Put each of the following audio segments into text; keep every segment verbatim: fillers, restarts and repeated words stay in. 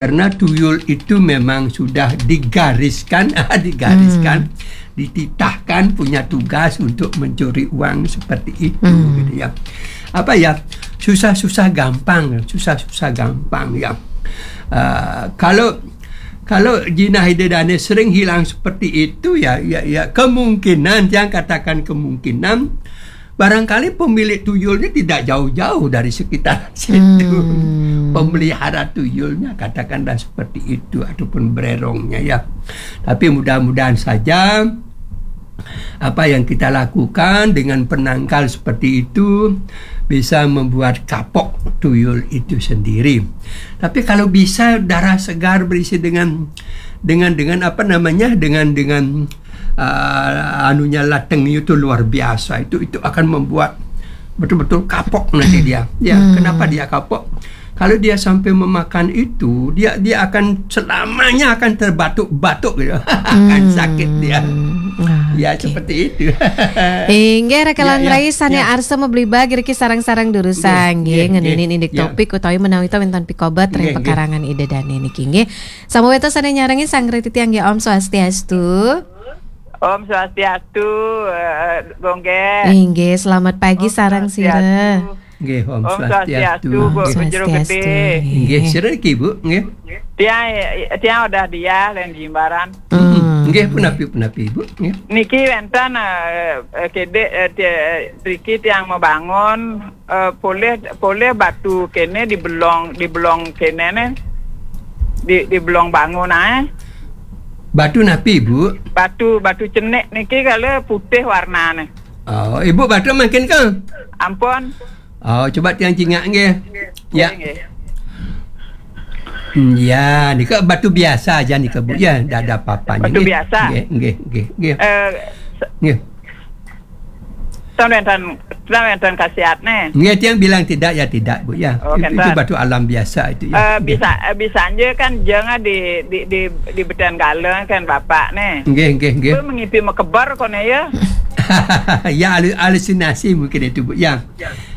Karena tuyul itu memang sudah digariskan, digariskan, dititahkan, punya tugas untuk mencuri uang seperti itu, gitu ya. Apa ya, susah-susah gampang, susah-susah gampang ya. Uh, kalau kalau jinah ida dane sering hilang seperti itu ya, ya, ya kemungkinan, yang katakan kemungkinan, barangkali pemilik tuyulnya tidak jauh-jauh dari sekitar situ. Pemelihara tuyulnya, katakanlah seperti itu, ataupun bererongnya ya. Tapi mudah-mudahan saja apa yang kita lakukan dengan penangkal seperti itu bisa membuat kapok tuyul itu sendiri. Tapi kalau bisa darah segar berisi dengan dengan dengan apa namanya, dengan dengan uh, anunya, lateng itu luar biasa, itu itu akan membuat betul-betul kapok nanti dia. Ya, kenapa dia kapok? Kalau dia sampai memakan itu, dia dia akan selamanya akan terbatuk-batuk gitu. Akan sakit dia. Ya, seperti itu. Inggih, raka lan rai sane arsa mabligba riki sareng-sareng durusang nggih, ngeninin indik topik utawi menawi ta wenten pikobet ring pekarangan ida dane niki nggih. Samaweta sane nyarengin sang riti tiang nggih, Om Swastiastu. Om Swastiastu, eh, Gung Gé. Inggih, selamat pagi sareng sira. Nggih, Om Swastiastu, Bu Jero Gede. Nggih, sira niki, Bu, nggih. Tiang tiang udah dia len Jimbaran. Nggih, punapi punapi, Bu, nggih. Niki wenten, eh, eh, kede, eh, ti- eh, riki tiang mabangun, eh, polih polih batu kene di belong di belong kene ne. Di di belong bangun ae. Batu napi, Bu? Batu batu cenik niki kala putih warnane. Oh, Ibu batu mangkin ke? Ampun. Oh, coba tiang cingak nggih. Ya. Nggih. Hmm, ya, nika batu biasa aja nika, Bu. Ya, ndak ada apa-apanya. Batu biasa. Nggih, nggih, nggih, nggih. Eh, nggih. Tan wenten tan wenten khasiatne. Nggih, tiang bilang tidak ya tidak, Bu, ya. Oh, itu, itu batu alam biasa itu ya. Eh, bisa eh, bisa aja kan jangan di di di di beten galeng kan Bapak ne. Nggih, nggih, nggih. Bu mengipi mekebar kone ya. Ya, halu- halusinasi mungkin itu, Bu, ya.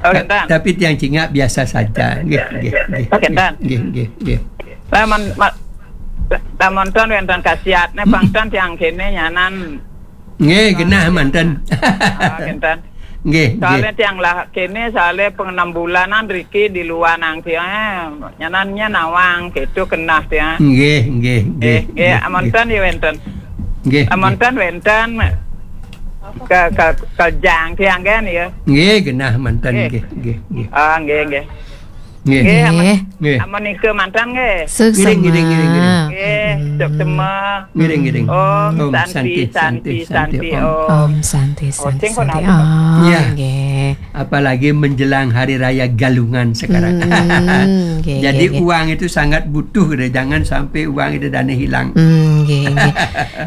Oh, Ta- tapi tiang cingak biasa saja. Nggih, nggih, nggih. Oh, nggih, nggih, nggih. Lamun ma- lamun tan wenten khasiatne pang tan tiang kene nyanan. Nggih, genah manten. Ah, kenten. Nggih, soalnya nggih. Tiang lah kene soalnya pang enam bulanan riki di luar nang tiang, eh, nyanannya nawang gitu kenah tiang. Nggih, nggih, nggih. Nggih, nggih, amonten ya wenten. Nggih, amonten wenten ke ke ke jang tiang kan ya. Nggih, genah manten. Nggih. Nggih, nggih, nggih. Ah, nggih, nggih. Nggih. Nggih, amun, nggih. Amun nika mantan nggih. Suksma. Ngiring, ngiring, ngiring, ngiring. Nggih, suksma. Ngiring, ngiring. Om Santi, Santi, Santi, Om. Om Santi, Santi, Santi. Oh, ya. Nggih. Apalagi menjelang hari raya Galungan sekarang. Hmm, nggih, jadi nggih, nggih. Uang itu sangat butuh deh. Jangan sampai uang itu dana hilang. Hmm, nggih, nggih.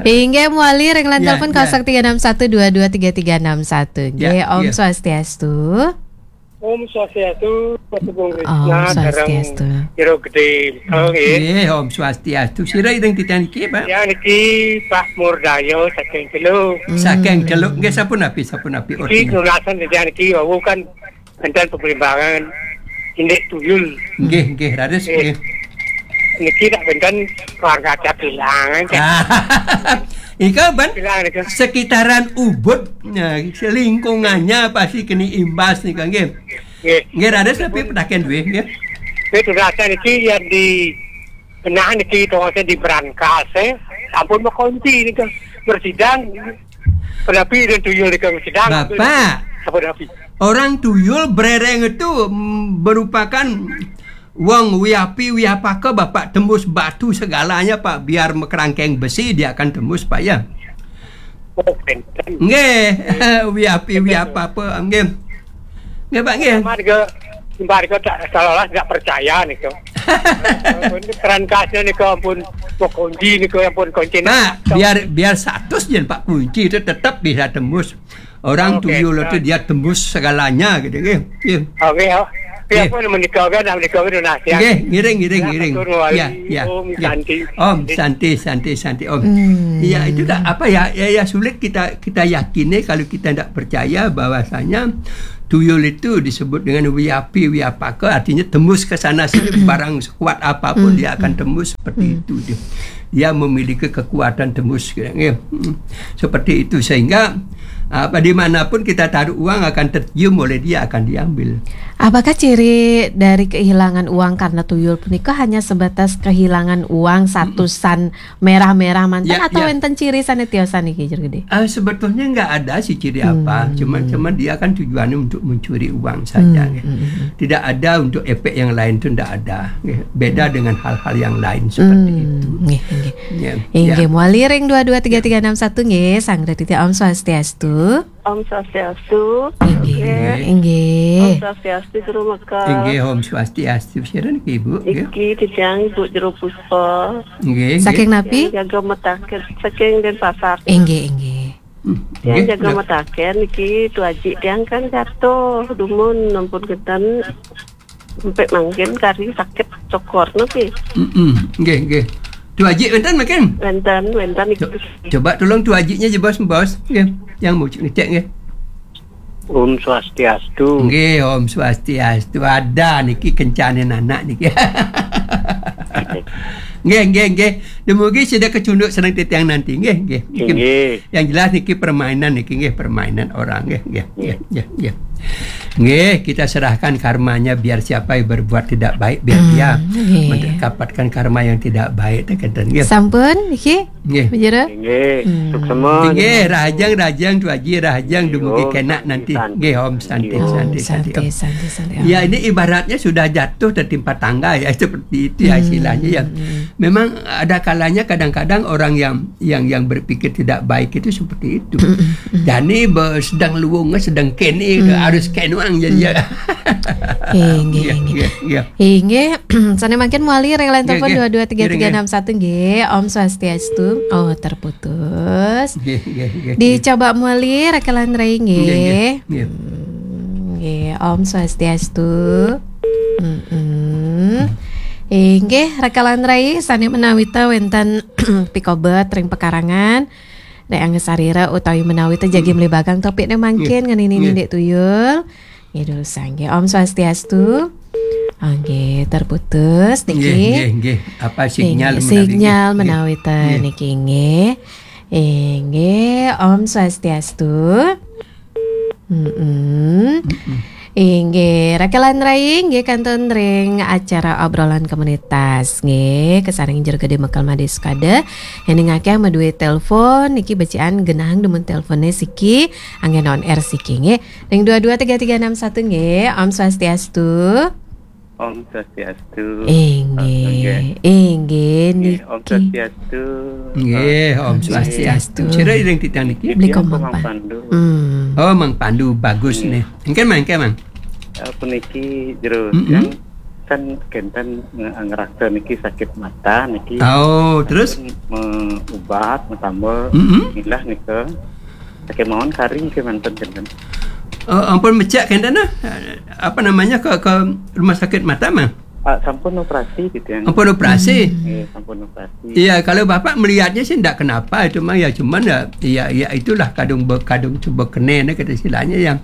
Inggih, mawali ring line telepon kosong tiga enam satu dua dua tiga tiga enam satu. Nggih, Om Swastiastu. Om Swastiastu, Mas Gung Krisna, Om Swastiastu. Sareng Jero Gede, oh, nggih. Nggih, Om Swastiastu. Sira ing titiang niki, Pak? Ya, niki Pak Murdayo saking Celuk. Hmm. Saking Celuk. Nggih, sapunapi, sapunapi. Niki ortinya. Lunasan titiang niki wau kan enten pembelimbangan indik tuyul. Nggih, nggih, raris, nggih. Nggih. Niki tak benten keluarga ada bilangan, kan? Ika ban bilang nika sekitaran Ubud, nah, lingkungannya pasti kena imbas nika nggih. Nggih. Nggih, raris tapi petaken duwe nggih. Nggih, durasa niki yang di tengah niki tongose di Brankas, eh. Ampun mau kunci nika bersidang. Penapi dan tuyul nika bersidang. Bapak. Apa napi? Orang tuyul bereng itu mm, merupakan wong wiapi wiapaka Bapak tembus batu segalanya Pak, biar mekerangkeng besi dia akan tembus Pak ya. Oh, benten. Nggih, wiapi wiapa apa nggih. Nggih Pak nggih. Sama juga Mbak Riko tak seolah-olah tidak percaya nih kok. Ini kerangkasnya nih kok ampun mau kunci nih kok ampun kunci. Pak, biar biar satu jen Pak kunci itu tetap bisa tembus. Orang tuyul itu dia tembus segalanya gitu nggih. Nggih. Oke, oh. Nggih. Apa menika kan menika kan nah ya. Nggih, ngiring ngiring ngiring. Ya, ya. Om Santi. Om Santi Santi Santi Om. Hmm. Iya, itu tak apa ya, ya ya sulit kita kita yakini kalau kita tidak percaya bahwasanya tuyul itu disebut dengan wiyapi, wiyapaka, artinya tembus ke sana sini, barang sekuat apapun dia akan tembus seperti itu dia. Dia memiliki kekuatan tembus, ya. Hmm. Seperti itu, sehingga, ah, di mana pun kita taruh uang akan tercium oleh dia, akan diambil. Apakah ciri dari kehilangan uang karena tuyul punika hanya sebatas kehilangan uang satusan merah-merah manten, atau wénten ciri sané tiosan niki, Jero Gedé? Ah, sebetulnya nggak ada sih ciri apa. Cuman, cuman dia kan tujuannya untuk mencuri uang saja, ya. Tidak ada untuk efek yang lain tuh, ndak ada, ya. Beda dengan hal-hal yang lain seperti itu. Nggih, nggih. Ya, inggih, ya. Mawali ring dua dua tiga tiga enam satu nggih, Sang Raditya, Om Swastiastu. Om Swastiastu. Inggih, inggih. Om Swastiastu, Jero Meka. Inggih, Om Swastiastu. Sira niki, Ibu, nggih? Iki titiang Ibu Jero Puspa. Nggih, nggih. Saking napi? Tiang jaga mataken, saking Denpasar. Inggih, inggih. Hmm, tiang nggih, jaga mataken niki, Tu Aji tiang kan jatuh, dumun ampun kinten. Sampai mangkin kari sakit cokor niki. Mm-mm, nggih, nggih. Tu Aji wénten mangkin? Wénten, wénten niki. Co-, coba tolong Tu Ajinya aja, Bos, Bos. Nggih, yang mau ngecek nggih. Om Swastiastu. Nggih, Om Swastiastu. Ada niki kencane anak niki. Nggih, nggih, nggih. Dumugi sida kecunduk seneng titiang nanti. Nggih, nggih. Nggih. Yang jelas niki permainan niki nggih, permainan orang nggih, nggih, nggih, nggih, nggih. Nggih, kita serahkan karmanya, biar siapa yang berbuat tidak baik, biar dia mendapatkan karma yang tidak baik, teh kinten nggih. Sampun niki? Nggih. Bujur? Nggih. Suksema. Nggih, rahajeng, rahajeng, Tu Aji, rahajeng, dumugi kenak nanti. Nggih, Om Santi, Santi, Santi. Ya, ini ibaratnya sudah jatuh tertimpa tangga ya, seperti itu ya istilahnya ya. Memang ada kalanya kadang-kadang orang yang yang yang berpikir tidak baik itu seperti itu. Jani be-, sedang luwung, sedang kene, harus kenuang jadi ya. Inggih, inggih. Inggih, sané mangkin mawali ring line telepon dua dua tiga tiga enam satu nggih. Om Swastiastu. Oh, terputus. Nggih, nggih, nggih. Dicoba mawali Raka lan Rai nggih. Nggih, nggih. Hmm, nggih, Om Swastiastu. Mm-mm. Inggih, Raka lan Rai sané menawita wénten pikobet ring pekarangan. Nek angga sarira utawi menawi té jagi mlebakang topik nek mangkin ngenini nindik tuyul. Nggih, durusang nggih. Om Swastiastu. Nggih, terputus niki. Nggih, nggih, nggih. Apa sinyal menawi, sinyal menawi té niki nggih. Inggih, Om Swastiastu. Mm-mm. Inggih, Raka lan Rai, inggih kantun ring acara obrolan komunitas, nggih, kasaring Jero Gedé Mekel Madé Sukada. Yén ningakeh madué telepon, niki becikan genahang dumun teleponné siki, anggén on air siki, nggih. Ring dua dua tiga tiga enam satu, nggih. Om Swastiastu. Om Swastiastu. Inggih, inggih, Om Swastiastu. Nggih, Om Swastiastu. Sira ring titiang niki? Beli Komang Pandu. Hmm. Oh, Mang Pandu, bagus nih. Engken, Mang, engken, Mang. Eh, puniki jero yang kan kenten nge-, ngeraksa niki sakit mata niki. Oh, terus? Sampun meubat, metambel, milah nika. Sakit mawon kari niki manten kenten. Oh, ampun mecek kenten nah. Apa namanya, ke, ke rumah sakit mata, Mang? Ah, sampun operasi gitu ya. Ampun operasi? Iya, sampun operasi. Iya, kalau Bapak melihatnya sih ndak kenapa itu, Mang, ya cuman ya, ya, ya itulah kadung be-, kadung coba kena nih kata istilahnya ya.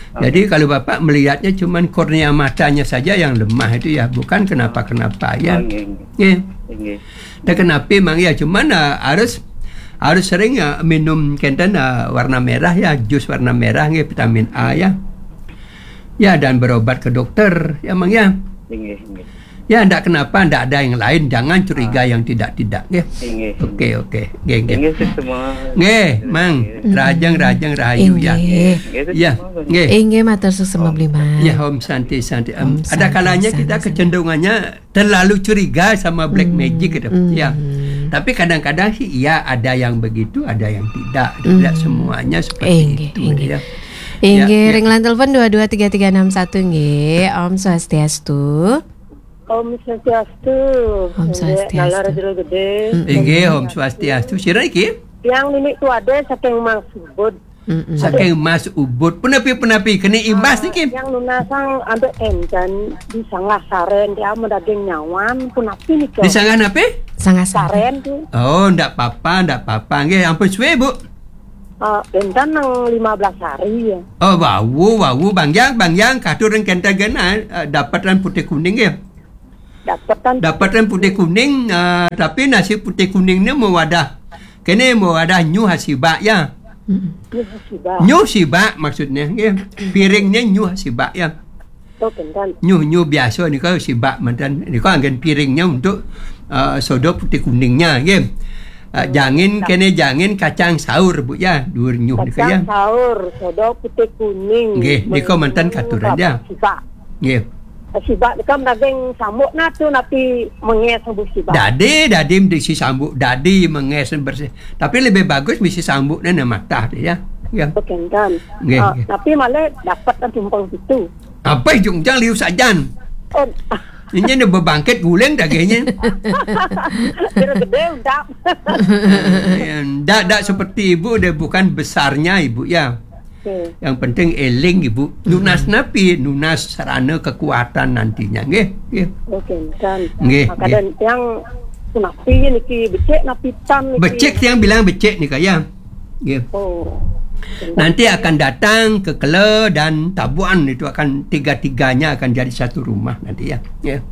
Jadi kalau Bapak melihatnya cuman kornea matanya saja yang lemah itu ya, bukan kenapa-kenapa ya. Oh, nggih, nggih. Nggih. Nggih. Ndak kenapa, Mang, ya cuman eh, harus harus sering ya minum kenten eh, warna merah ya, jus warna merah nggih, vitamin A ya. Ya, dan berobat ke dokter ya, Mang, ya. Nggih, nggih. Ya, ndak kenapa, ndak ada yang lain, jangan curiga yang tidak-tidak ya. Nggih. Oke, oke. Nggih, nggih. Nggih, suksema. Nggih, Mang. Nggih. Rajang, rajang, rahayu ya. Nggih. Nggih, suksema. Ya, nggih. Inggih, matur suksema, Bli Mang. Ya, Om Santi, Santi. Em, ada kalanya kita kecenderungannya terlalu curiga sama black magic gitu. Ya. Tapi kadang-kadang sih iya ada yang begitu, ada yang tidak. Tidak semuanya seperti itu ya. Inggih, ring line telepon dua dua tiga tiga enam satu nggih. Om Swastiastu. Om Swastiastu. Om Swastiastu. Nalar Jero Gedé. Inggih, Om Swastiastu. Sira iki? Tiang Nini Tuade saking Mas Ubud. Saking Mas Ubud. Punapi, punapi, kena imbas niki? Yang lunasang ambek enten di Sanggah Saren, dia mau daging nyawan, punapi nika? Di Sanggah napi? Sanggah Saren. Saren tu. Oh, ndak apa-apa, ndak apa-apa. Nggih, ampun suwe, Bu. Ah, bentan nang lima belas hari ya. Oh, wau, wau, Bang Yang, Bang Yang, katur ring kenten genah, eh, dapatan putih kuning ya. Dapatan. Dapatan putih kuning, eh, tapi nasi putih kuningnya mawadah. Kene mawadah nyuh sibak ya. Mm-mm. Nyuh sibak. Nyuh sibak maksudnya, nggih. Piringnya nyuh sibak ya. Oh, bentan. Nyuh, nyuh biasa nika sibak mantan. Nika anggen piringnya untuk, eh, sodo putih kuningnya, nggih. Eh, jangin kene jangin kacang saur, Bu, ya. Duur nyuh nika, ya. Kacang saur, sodo putih kuning. Nggih, nika mantan katuran, ya. Sibak. Nggih. Sibak nika daging sambuk nah tu napi menges bu sibak. Dadi, dadi mesti sambuk, dadi menges bersih. Tapi lebih bagus mesti sambuknya nah matah tu, ya. Ya. Oke, kan. Nggih, ah, nggih. Tapi malah dapat kan tumpang situ. Apa jung jang liu sajan? Oh. Ini dia berbangkit guling dagingnya. Kira gede udah. Ya, ndak, ndak seperti ibu, dia bukan besarnya ibu ya. Oke. Yang penting eling ibu. Nunas napi, nunas sarana kekuatan nantinya, nggih, nggih. Oke, kan. Nggih, maka nggih. Dan yang napi niki becik napi tan niki. Becik yang bilang becik nika ya. Nggih. Oh. Nanti akan datang ke Kela dan Tabuan itu akan tiga-tiganya akan jadi satu rumah nanti ya. Ya.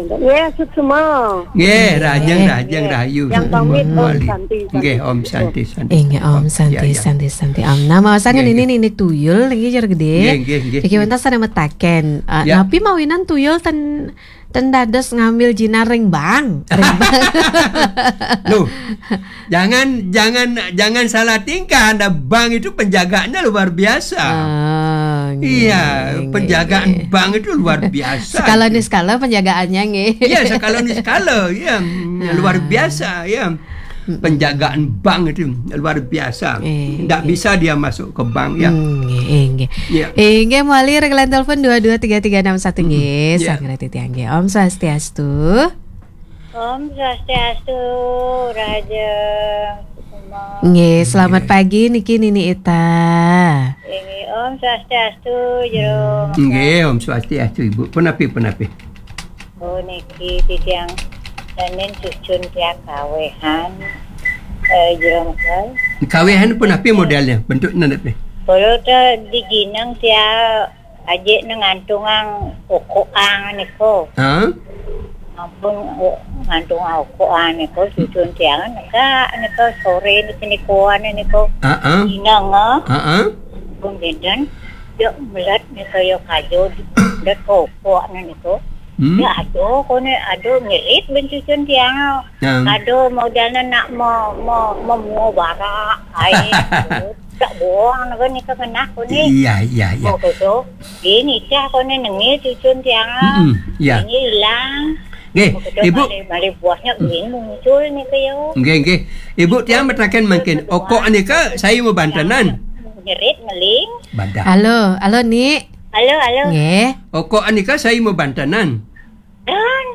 Ya, semua. Nggih, rahajeng, nggih. Rahajeng, nggih. Rahayu. Yang pamit, Om Santi, Santi. Nggih, Om Santi, Santi. Inggih, Om Santi, ya, ya. Santi, Santi. Om. Nah, maosang nggih, ini, nggih. Ini tuyul niki jero gedé. Nggih, nggih, nggih. Iki wénten sané metaken. Eh, ya. Napi mawinan tuyul ten, ten dados ngambil jinar ring bank. Ring bank. Loh, jangan, jangan, jangan salah tingkah. Ada bank itu penjagaannya luar biasa. Ah, nggih, iya, nggih, penjagaan nggih. Bank itu luar biasa. Skala niskala penjagaannya, nggih. Iya, skala niskala, iya. Ah. Luar biasa, ya. Mm-mm. Penjagaan bank itu luar biasa. Eh, ndak eh. Bisa dia masuk ke bank, ya. Hmm, nggih, eh, nggih. Ya. Eh, nggih, mawali rek line telepon dua dua tiga tiga enam satu, nggih. Mm-mm. Ya. Sang Rati Tiang, nggih. Om Swastiastu. Om Swastiastu, Raja Sukma. Nggih, selamat pagi niki Nini Ita. Nggih, Om Swastiastu, Jero. Nggih, Om Swastiastu, Ibu. Punapi, punapi? Oh, niki titiang danen cucun tiang kawehan, eh, Jero Mekal. Kawehan punapi modelnya? Bentuk nandet nih. Kalau te di Jineng tiang ajik ne ngantungang okoang niko. Hah? Ampun, eh, ngantungang okoang niko, cucun tiang neka niko sore niki nikoan niko. Heeh. Inang, eh. Heeh. Ampun, dinten, yo melet niko yo kajo, det kokok niko. Hmm? Ya, aduh, kone, aduh, ngerit ben cucun tiang. Yang ado modalnya nak mo, mo, mo, mo bara, ai, tak bohong, nak ni kena aku ni. Iya, iya, iya. Oh, betul. Ini cah kau ni nengil cucun tiang. Mm-mm, iya. Ini hilang. Nggih, oh, betul, Ibu. Balik, balik buahnya ini muncul ni ke yo. Nggih, nggih. Ibu tiang metaken mangkin, okok nika saya mau bantenan. Ngerit, ngeling. Badah. Halo, halo, Ni. Halo, halo. Nggih. Okok nika saya mau bantenan. Dan,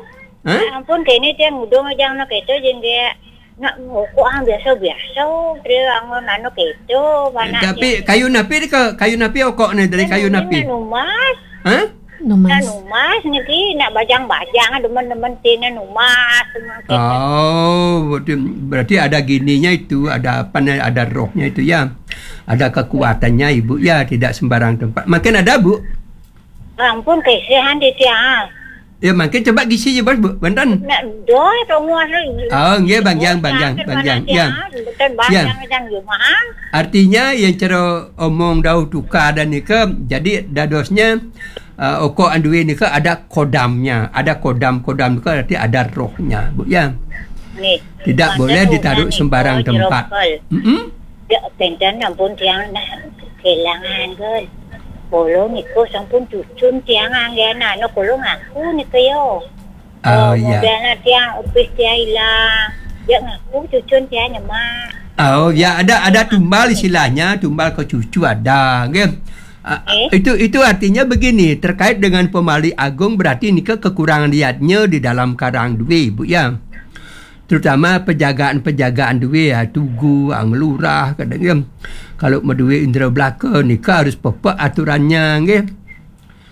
hah? Ampun, kene tiang ngudung aja anak itu, jeng dia. Nak ngokok ah biasa-biasa, dia angon anu keto, mana tapi dia. Kayu napi ke, kayu napi okok ni dari kayu napi? Anu mas. Hah? Numas. Anu mas, niki nak bajang-bajang, demen-demen tina numas, demen keto. Oh, berarti, berarti ada gininya itu, ada apa ni, ada rohnya itu ya. Ada kekuatannya, Ibu, ya, tidak sembarang tempat. Makin ada, Bu? Ampun, kesehan di tiang. Ya, makin coba gisi je, Bos, Bu. Banten. Nak doa tunggu asa. Oh, nggih, Bang Yang, Bang Yang, Bang Yang. Ya. Bukan Bang Yang, Yang Jumahan. Artinya, yang cara omong dau tukar dan nika, jadi dadosnya, uh, okok andui nika ada kodamnya, ada kodam-kodam nika, berarti ada rohnya, Bu, ya. Nih, tidak boleh ditaruh sembarang tempat. Mm-mm. Ya, benten ampun tiang nah kehilangan kan. Bolo niku sampun cucun tiang anggen anu kulo ngaku niku yo. Oh, oh, iya. Modalnya tiang upis tiang hilang. Ya ngaku cucun tiang nyemak. Oh, ya ada, ada tumbal istilahnya, tumbal ke cucu ada, nggih. Ah, eh? Itu, itu artinya begini, terkait dengan pemali agung berarti nika kekurangan liatnya di dalam karang duit, Bu, ya. Terutama penjagaan-penjagaan duit, ya, tugu, ah, ngelurah, kadang, ya. Kalau mau duit indra belaka, nika harus pepek aturannya, nggih.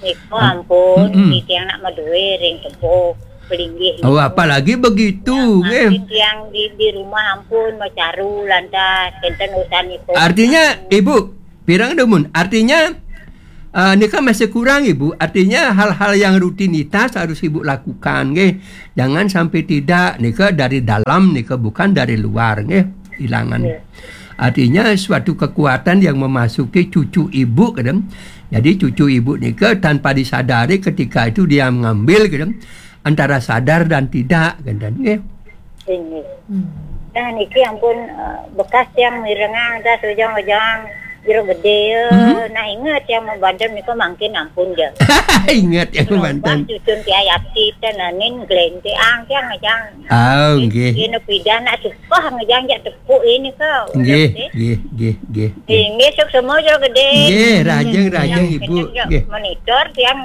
Nika ampun, mm-mm. Titiang nak mau duit ring tempo. Pelinggih. Oh, apalagi begitu, nggih. Mungkin tiang di, di rumah ampun macaru lantas kenten urusan ipun. Artinya, Ibu, pirang dumun. Artinya, eh, nika masih kurang, Ibu. Artinya, hal-hal yang rutinitas harus Ibu lakukan, nggih. Jangan sampai tidak, nika dari dalam, nika bukan dari luar, nggih. Hilangan. Iya. Artinya, suatu kekuatan yang memasuki cucu Ibu, kadang. Jadi, cucu Ibu nika tanpa disadari ketika itu dia mengambil, kadang, antara sadar dan tidak, kadang, nggih. Inggih. Hmm. Nah, niki ampun, eh, bekas tiang mirengang tas ujang-ujang jero gede, ya. Mhm. Nah, inget tiang membanten nika mangkin ampun, ya. Inget tiang membanten. Cucun tiang yapti, tenanin, gelente, ang, tiang ngejang. Oh, nggih. Ini pidan, nak suka ngejang, jak tepuk ini, kau. Nggih, nggih, nggih, nggih. Inggih, sukses semua jero gede. Nggih, rajeng, rajeng, Ibu. Nggih. Monitor tiang,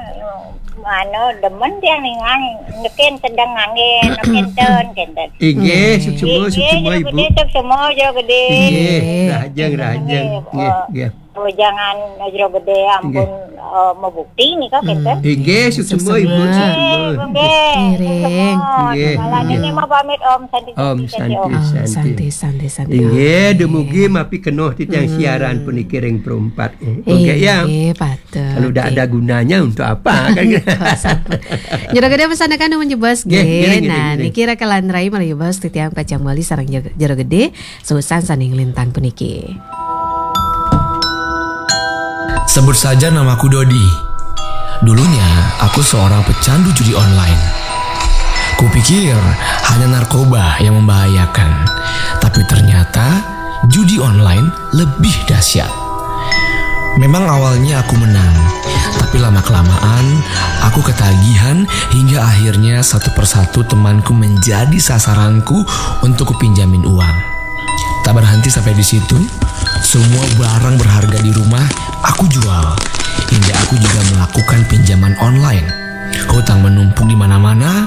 anu, demen tiang ningang, neken sedang ngangge, neken ten, kenten. Inggih, sukses semua, sukses semua, Ibu. Inggih, sukses semua jero gede. Inggih, rajeng, rajeng. Nggih, nggih. Oh, jangan jero gede, ampun, eh, mebukti nih, kok, kenten. Inggih, sukses semua, Ibu, sukses semua. Nggih, nggih. Nggih, nggih. Ini mah pamit, Om. Santi, Om, santi, santi, Om. Santi, santi, santi. Inggih, dumugi mapi kenoh titiang siaran puniki ring perempat. Eh, oke, ya. Inggih, patut. Kalau tidak ada gunanya, untuk apa, kan? Kok sampai. Jero gede pesan akan menjebos, nggih, nggih, nggih, nah, nggih. Niki rakalan rai malih jebos titiang pacang bali sareng jero, jero gede, susan saning lintang puniki. Sebut saja namaku Dodi. Dulunya, aku seorang pecandu judi online. Kupikir hanya narkoba yang membahayakan. Tapi ternyata, judi online lebih dahsyat. Memang awalnya aku menang, tapi lama-kelamaan aku ketagihan hingga akhirnya satu persatu temanku menjadi sasaranku untuk kupinjamin uang. Tak berhenti sampai di situ, semua barang berharga di rumah aku jual, hingga aku juga melakukan pinjaman online. Hutang menumpuk di mana-mana,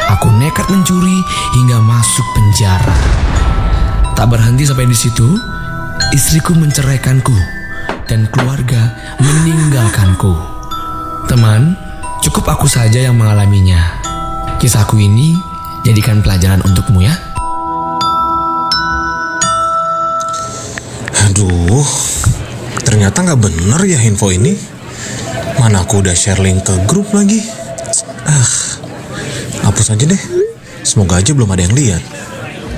aku nekat mencuri hingga masuk penjara. Tak berhenti sampai di situ, istriku menceraikanku dan keluarga meninggalkanku. Teman, cukup aku saja yang mengalaminya. Kisahku ini jadikan pelajaran untukmu ya. Aduh, ternyata nggak bener ya info ini. Mana aku udah share link ke grup lagi. Ah, hapus aja deh. Semoga aja belum ada yang lihat.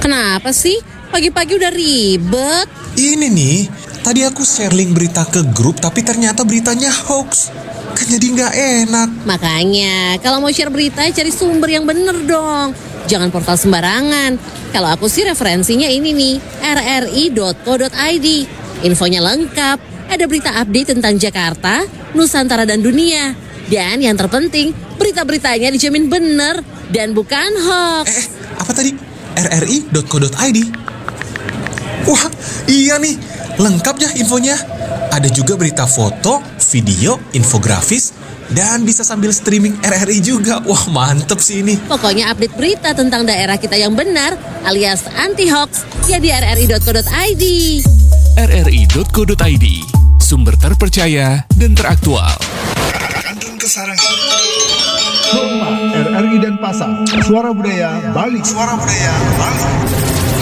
Kenapa sih? Pagi-pagi udah ribet. Ini nih, tadi aku share link berita ke grup, tapi ternyata beritanya hoax. Kan jadi nggak enak. Makanya, kalau mau share berita, cari sumber yang bener dong. Jangan portal sembarangan. Kalau aku sih referensinya ini nih, R R I dot co dot I D. Infonya lengkap. Ada berita update tentang Jakarta, Nusantara, dan dunia. Dan yang terpenting, berita-beritanya dijamin bener dan bukan hoax. Eh, eh, apa tadi? R R I dot co dot I D. Wah, iya nih. Lengkap ya infonya. Ada juga berita foto, video, infografis, dan bisa sambil streaming R R I juga. Wah, mantep sih ini. Pokoknya update berita tentang daerah kita yang benar alias anti hoax ya di R R I dot co dot I D. R R I dot co dot I D, sumber terpercaya dan teraktual. Kantun Kesarangan. Rumah R R I Denpasar. Suara Budaya Bali. Suara Budaya Bali.